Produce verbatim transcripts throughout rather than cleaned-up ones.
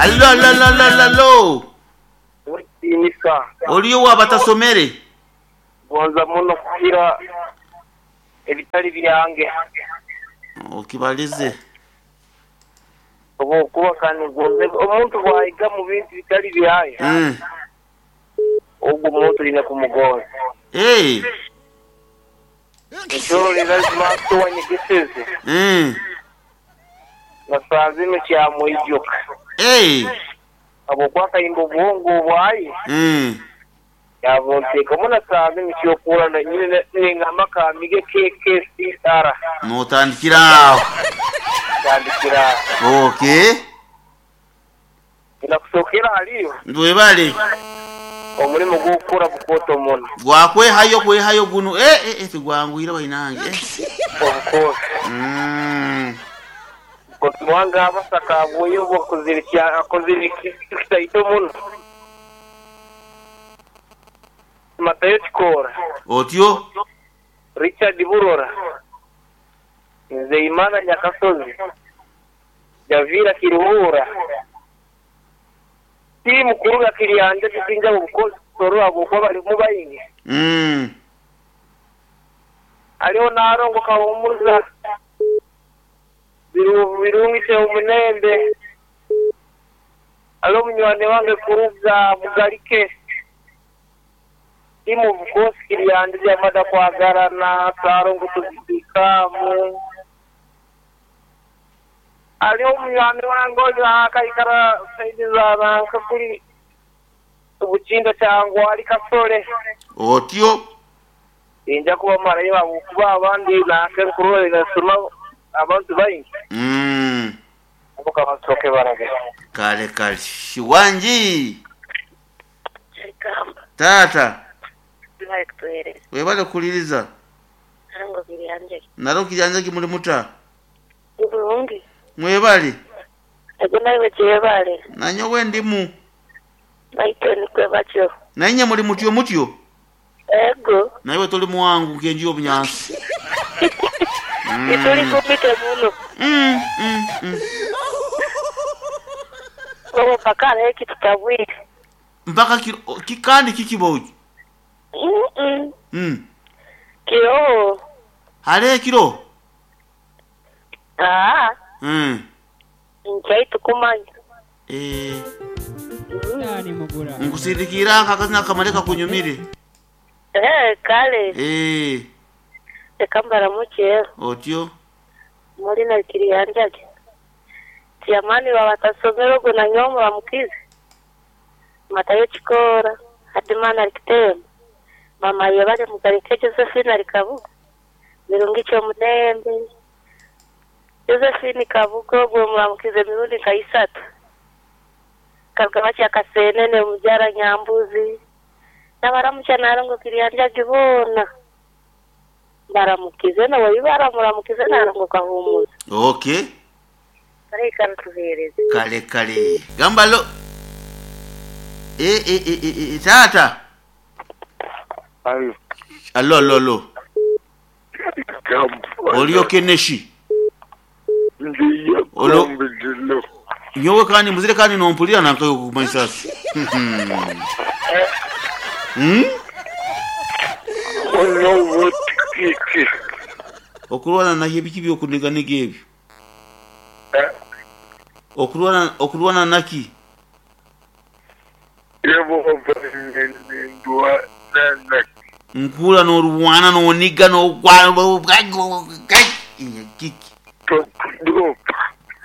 Allo allo allo allo allo allo. Wetiinisa Oliyo wabatasomere. Gonza muno kuhira ebitali byange Okibalize. Oba okuba kandi gonze omuntu bwayiga mu bintu bitali byaye Mm. ogwo omuntu olina kumugonza. Hey. Ekyororera lazima wanyegeseze Mm. nasanze ino kyamwijuka Hey. habwokuba akayimba obwongo obwaye Mm. yabunteekamu nasanze nikyokurana nyine nengamba kamige K K C R. Notandikira aho. Tandikira. Okay. Nakusookera haliyo Webale. omulimu gw'okukora bukooto muno. Gwakwehayo kwehayo guno eh eh, eh tigwangwira bainange. Eh. Obukooti. Mm. Wange abasaka abwoyo bwakozere akozere kitaito muno Matayo Kikora. Otyo. Richard Burora, Nzeimana Nyakasozi, Javira Kiruhura, tiimu kuruga Kiryanja tusinja obukozi kusorora bwokuba balimu baingi. Mm. Aliho narongo kahumuza birungise omunembe aliho munywani wange kuruga Bugalike timu bukosi Kiryanja byamada kwagarana sarongo tuzibikamu aliho munywani wange oyo akaikara saidi za nanka kuri obukinda cyangwa ali Kasole. Otyo. Inja kuba marayo kuba abandi nanka nkurore nasoma abantu baingi. Mm. Abo kabasoke barage. Kale kale. Wanji. Kamba. Tata. Tubaye kutuhereza. Webale kuliriza. Ntango Kiryanja. Naro Kiryanja kimuli muta. Bulungi. Mwebale. Ego nawe kyebale. Nanyowe ndimu. Naitwe nikwe batyo. Nainye muli mutyo mutyo. Ego. Naiwe toli muwangu kenji obunyansi. Mm. Ituli kumite muno. Mm, mm, mm. Obo mpaka leki tutabwire. Mpaka ki, kandi kikiboji. Mm -mm. Mm. Kiro. Hale kiro. Ah. Mm. Nchaitu kumanya. Eh. Mm. Nkusindikira akakazina kamaleka kunyumire. Eh, kale. Eh. Ekambara muche. Otyo. Muri na Kiryanja. Tiamani wabatasomero gona nyoma mukize. Matayo Chikora, Hadimana Rikitema. Mama yabale mugarike Josephine Arikabuga. Mirungicho munembe. Josephine Kabugo gwe muramukize mirundi kaisatu. Kalkabacha kasenene mujara nyambuzi. Nabaramucha narongo Kiryanja gibona. Baramukize na wabibara muramukize narongo kahumuza. Okay. Kale kale tuhereze. Kale kale. Gambalo. Eh eh eh eh, eh tata. Allo. Allo allo allo. Olio keneshi. Ndiyo. Olo. Nyowe kandi muzire kandi nompulira nankayo kumaisasi. Hmm? Ono kiki. Okulwana na hebiki byokuniganiga ebyo. Okulwana okulwana naki? Yebo ndwa nana. Nkula n'olwana n'oniga n'ogwa kiki.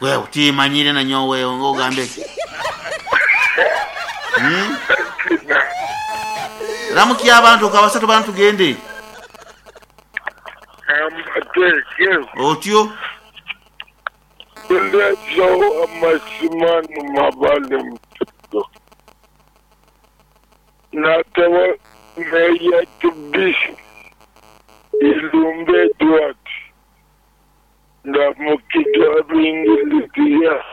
Wewe timanyire na nyowe ngogambe. Hmm? Ramuki abantu kabasatu bantu gende. Otyo. Lezo amasimanu mabale mtoto. Natawa meya tubisi ilumbe duat. Ndamukija bingilitia.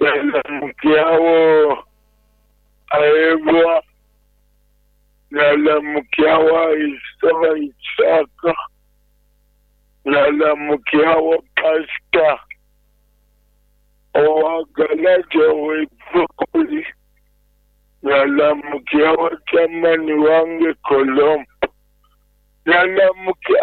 Ndamukiawo aebwa. Nalamukiawa isaba isaka. Nalamukiawa pasta. Owagalaja wepukuli Nalamukia wachamani wange Kolombo. Nalamukia